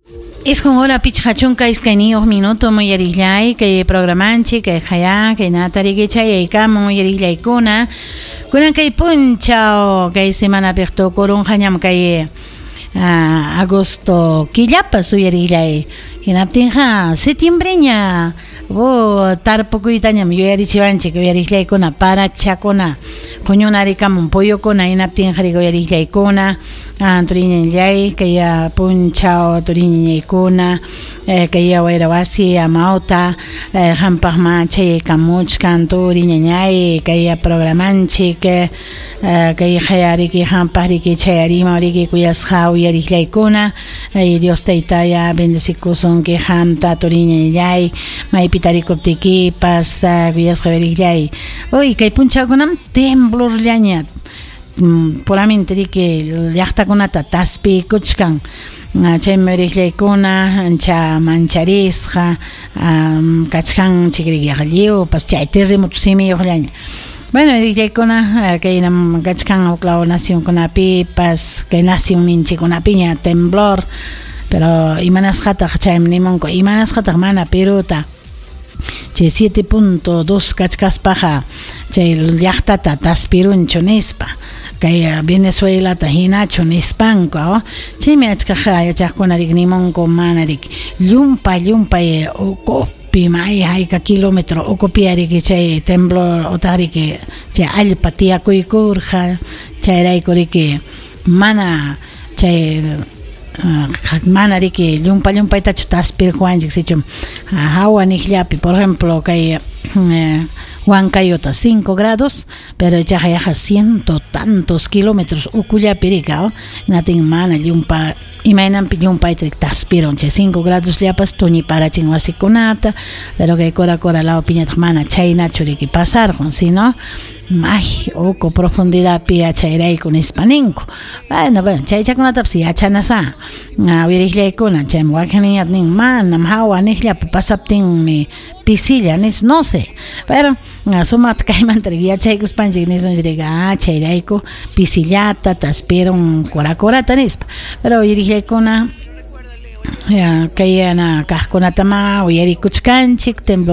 Isqun hora 52 minuto uyarillay kay programanchik kay haya kay natariki chayaykamun uyarillaykuna kunan kay punchaw kay semanapiq tukurunqañam kay agosto killapas uyarillay hinaptinqa septiembreña tarpukuytañam yuyarichiwanchik uyarillaykuna parachakuna huñunarikamun puyukuna hinaptinqa uyarillaykuna turiñallay kay punchaw turiñaykuna kay wayra wasi amawta hampaqma chayaykamuchkan turiñañay kay programanchik kay hayariki hampaq chayarima riki kuyasqa uyarillaykuna Dios taytaya bendecikusunki qamta turiñallay maypi tarikuptikipas kuyasqa uyarillay uy kay punchawkunam temblorllaña puramente riki llaqtakunata taspiykuchkan chaymi uyarillaykuna ancha mancharisqa kachkanchik riki lliwpas chay terremoto simiyuqllaña. Bueno, uyarillaykuna kaynam kachkan huklaw nacionkunapipas kay nacionninchikkunapiña temblor, pero imanasqataq chaymi nimunku imanasqataq mana Peruta chay 7.2 kachkaspaqa chay llaqtata taspirunchu nispa kay Venezuelata hinachu nispanku chaymi achkaq yachaqkuna riki nimunku mana riki llumpay ukupi may hayka kilómetro ukupi riki chay temblor otaq riki chay allpa tiyakuykurqa chayrayku riki mana chay mana riki llumpaytachu taspirquwanchik sichum hawa niqllapi por ejemplo kay Huancayota 5 grados pero ichaqa yaqa ciento tantos kilómetros ukullapi rika natin mana llumpa imaynanpi llumpayta taspirun chay 5 grados llapas tuñiparachin wasikunata pero kay Cora Cora lawpiñataq mana chaynachu riki pasarqun sino ay uku profundidadpi yachayrayku nispa ninku. Bueno, chaychakunatapas yachanasá uyarillaykuna chaymi wakinniñata nin manam hawa niqllapi pasaptinmi pisilla nispa no sé pero sumaqta kaymanta yachaykuspanchik nisunchik chayrayku pisillata taspirun Cora Corata nispa pero uyarillaykuna kay kaqkunatama uyarikuchkanchik temblor.